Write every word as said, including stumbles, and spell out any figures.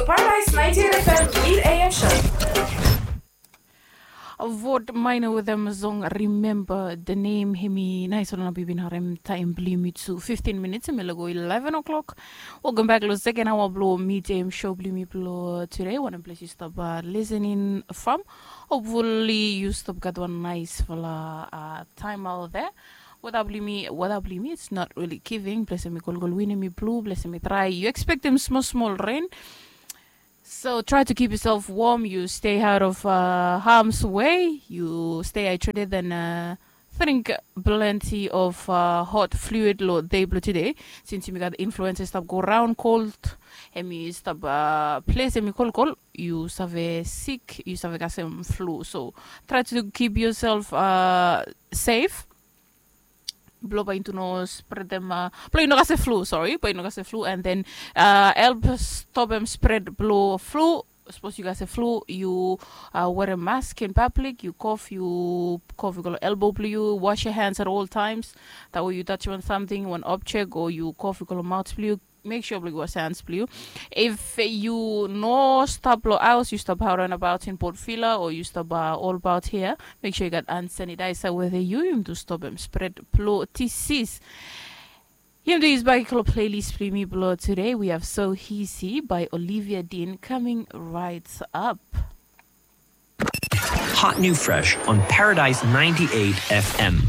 Paradise ninety-eight F M Lead A M Show. Vot maina wetem song Remember the Name. Hemi nais ol naba yu bin harem taem blong yumi tu fiftin minits hemi lago eleven o'clock. Welcome back lo second hour blo Meet A M show blo yumi blo today. Wanem ples yu stap listening from? Hopefully yu stap gat wan naisfala taem out there. Weda blo yumi, weda blo yumi, it's not really giving. Ples hemi kolkol, win hemi blu, ples hemi drai. Yu ekspektem smol smol ren. So try to keep yourself warm. You stay out of uh, harm's way. You stay hydrated and uh, drink plenty of uh, hot fluid lo day blo today. Since yumi gat influenza stap go round, cold, hemi stap uh, ples hemi kolkol, yu save sick, yu save kasem flu. So try to keep yourself uh, safe. Blo bae yu no spredem uh, blo yu no kasem flu, sorry, bae yu no kasem flu, and then uh, help stopem spread blo flu. Sapos yu kasem flu, yu uh, wear a mask in public. Yu kof, yu kof, yu go lo elbow blo yu. Wash your hands at all times. That way yu touch wan something, wan object, o yu kof, yu go lo maot blo yu. Make sure blo yu wash your hands blo yu. If yu no stap lo haos, yu stap around about in Port Vila, o yu stap uh, all about here, make sure yu gat hand sanitizer wetem yu. Yumi tu stopem spread blo disease. Yumi tu yusum bak lo playlist blo yumi blo today. We have So Easy by Olivia Dean coming right up. Hot new fresh on Paradise ninety-eight F M.